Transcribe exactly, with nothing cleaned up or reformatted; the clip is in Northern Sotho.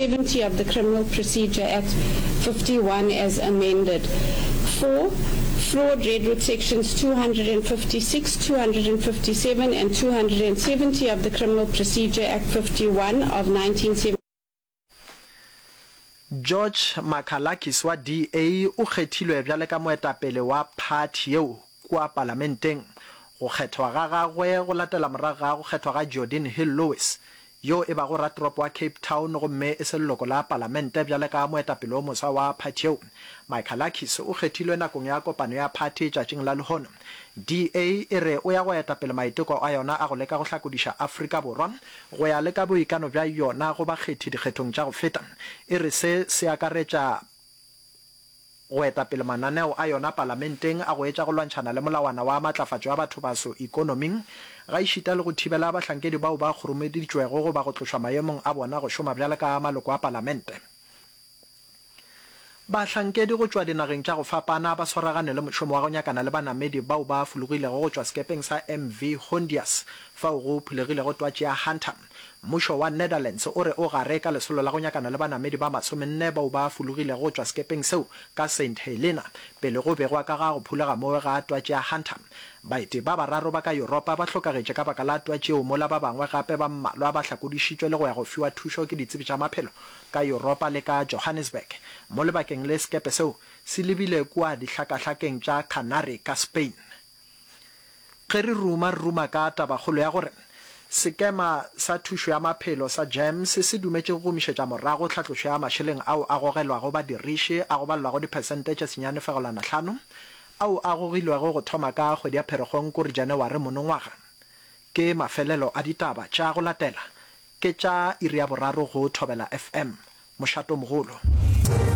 seventy of the Criminal Procedure Act fifty-one as amended. Four, fraud read with sections two hundred and fifty-six, two hundred and fifty-seven and two hundred and seventy of the Criminal Procedure Act fifty-one of nineteen seventy. George Makalakis wa D A o kgethilwe bjale ka moetapele wa phathi yeo kua palamenteng. Go kgethwa ga gagwe go latela morago ga go kgethwa ga Geordin Hill-Lewis yo e bago ratoropo wa Cape Town gomme e se leloko la palamente bjale ka moetapele o moswa wa phathi yeo. Michalakis o kgethilwe nakong ya kopano ya phathi tšatšing la lehono. D A e re o ya go eta pele maiteko a yona a go leka go hlakodiša Afrika Borwa go ya le ka boikano bja yona go bakgethi dikgethong tša go feta. E re se se akaretša go eta pele mananeo a yona palamenteng a go etša go lwantšhana le molawana wa matlafatšo ya bathobaso ikonoming gaešita le go thibela bahlankedi bao ba kgoromeditšwego goba go tlošwa maemong a bona go šoma bjalo ka maloko a palamente. Bahlankedi go tšwa dinageng tša go fapana ba swaragane le mošomo wa go nyakana le banamedi bao ba fologilego go tšwa sekepeng sa M V Hondius fao go phulegilego twatši ya Hunter. Mmušo wa Netherlands o re o gare ka lesolo la go nyakana le banamedi ba masomenne bao ba fologilego go tšwa sekepeng seo ka Saint Helena pele go begwa ka ga go phulega moo ga twatši ya Hunter. Baeti ba bararo ba ka Yuropa ba hlokagetše ka baka la twatši yeo mola ba bangwe gape ba mmalwa ba hlakodišitšwe le go ya go fiwa thušo ke ditsebi tša maphelo ka Yuropa le ka Johannesburg. Mo lebakeng le sekepe seo se lebile kua dihlakahlakeng tša Canary ka Spain. Ge re ruma, re ruma ka tabakgolo ya gore Sekema sa Thušo ya Maphelo sa GEMS se dumetše go gomišetša morago tlhatlošo ya mašeleng ao a gogelwago badiriši a go balelwago diphesente tše senyane fegelwana hlano ao a gogilwego go thoma ka kgwedi ya Pherekgong kore Janeware monongwaga. Ke mafelelo a ditaba tša go latela ke tša iri ya boraro go Thobela F M. Mošatomogolo.